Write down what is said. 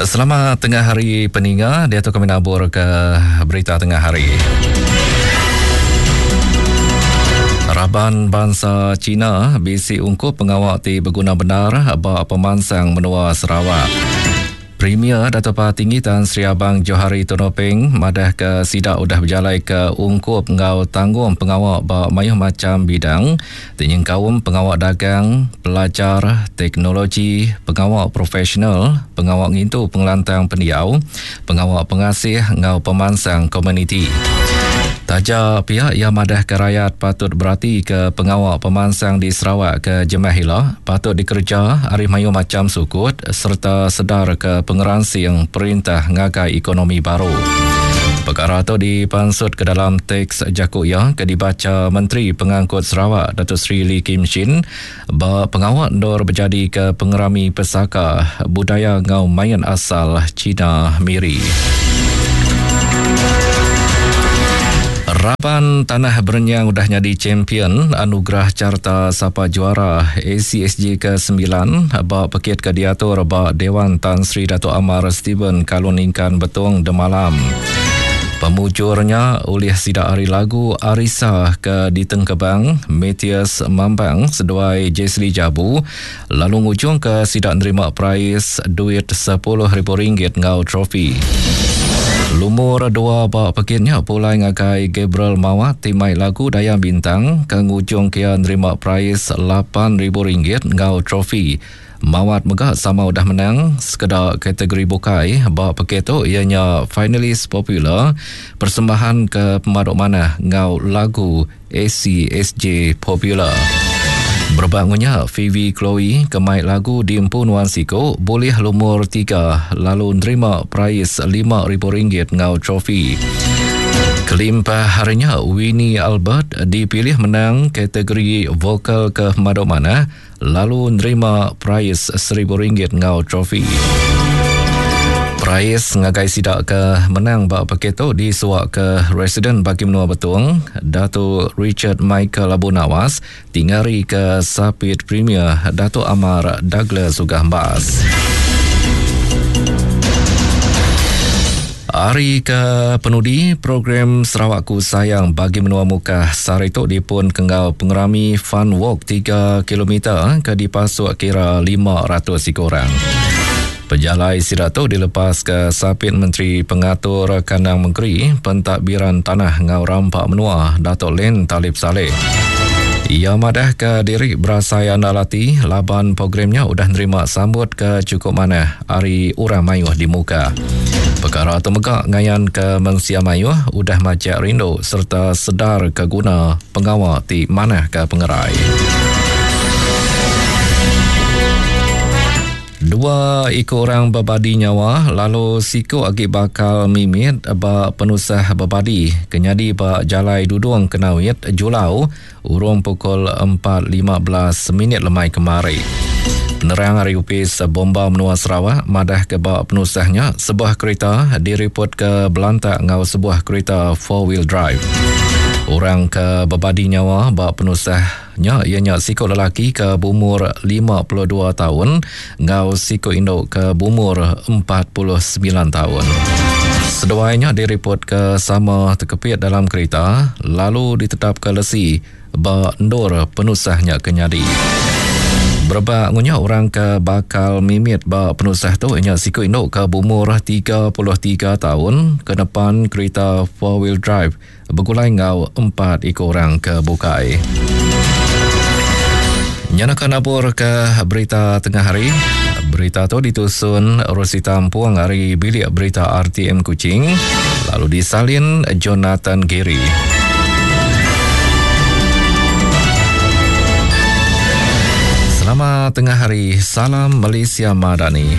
Selamat tengah hari peninga, diatu kami nabur ke berita tengah hari. Raban bansa Cina bisi ungkup pengawa ti beguna bendar ba pemansang menua Sarawak. Premier Datuk Patinggi Tan Sri Abang Johari Tun Openg madahka sida udah bejalaika ungkup enggau tanggung pengawa ba mayuh macham bidang ti nyengkaum pengawa dagang, pelajar, teknologi, pengawa profesional, pengawa ngintu pengelantang pendiau, pengawa pengasih enggau pemansang komuniti. Taja pia iya madahka rayat patut beratika pengawa pemansang di Sarawak ke jemah ila patut dikereja ari mayuh macham sukut sereta sedarka pengeransing perintah ngagai ekonomi baru. Pekara tu dipansutka dalam teks jaku iya ke dibacha Menteri Pengangkut Sarawak Datuk Seri Lee Kim Shin ba pengawa endur bejadika Pengerami Pesaka Budaya enggau Main Asal China Miri. Raban Tanah Berenyang udah nyadi champion Anugerah Carta Sapa Juara ACSJ ke-9 ba pekit ke diatur ba Dewan Tan Sri Datuk Amar Stephen Kalun Ningkan Betong demalam. Pemujur nya ulih sida ari lagu Arisa ke ditengkebang Mathias Mambang seduai Jesly Jabu lalu ngujungka sida nerima perais duit RM10,000 enggau trofi. Lumur dua ba pekit nya pulai ngagai Gabriel Mawat ti mai lagu Dayang Bintang ke ngujungka iya nerima perais RM8,000 enggau trofi. Mawat mega sama udah menang sekeda kategori bukai ba pekit tu iya nya Finalis Popular, Persembahan ke Pemadu Manah enggau Lagu ACSJ Popular. Berebak enggau nya, Phoebe Chloe ke mai lagu Diempu Nuan Siku bulih lumur tiga lalu nerima perais RM5,000 enggau trofi. Kelimpah ari nya, Winnie Albert dipilih menang kategori vokal ke pemadu manah lalu nerima perais RM1,000 enggau trofi. Perais ngagai sida ke menang ba pekit tu disuaka Residen Bagi Menua Betong, Datu Richard Michael Abu Nawas ti ngarika Sapit Premier Datuk Amar Douglas Uggah Embas. Hari ke penudi program Sarawakku Sayang Bagi Menua Mukah sehari tu dipunka enggau pengerami Fun Walk 3 kilometer ke dipasuk kira 500 iku orang. Pejalai sida tu dilepaska Sapit Menteri Pengatur Kandang Mengeri, Pentadbiran Tanah enggau Rampa Menua Datuk Len Talib Salleh. Iya madahka diri berasai andal ati laban program nya udah nerima sambut ke chukup manah ari orang mayuh di Mukah. Pekara tu mega ngayanka mensia mayuh udah majak rindu sereta sedar ke guna pengawa ti manahka pengerai. Dua iku orang bebadi nyawa lalu siku agi bakal mimit ba penusah bebadi ke nyadi ba Jalai Dudong Kenawit, Julau urung pukul 4.15 minit lemai kemari. Penerang ari Opis Bomba Menua Sarawak madahka ba penusah nya sebuah kerita diripotka belantak enggau sebuah kerita four wheel drive. Orang ke bebadi nyawa ba penusah nya iya nya siku lelaki ke beumur 52 taun enggau siku indu ke beumur 49 taun. Seduai nya diripotka sama tekepit dalam kerita lalu ditetapka lesi ba endur penusah nya ke nyadi. Berebak ngunya orang ke bakal mimit ba penusah tu nya siku indu ke beumur 33 taun ke nepan kerita four wheel drive begulai enggau empat iku orang ke bukai. Nya naka nabur ke berita tengah hari. Berita tu ditusun Rosita Ampung ari Bilik Berita RTM Kuching lalu disalin Jonathan Giri. Selamat tengah hari. Salam Malaysia Madani.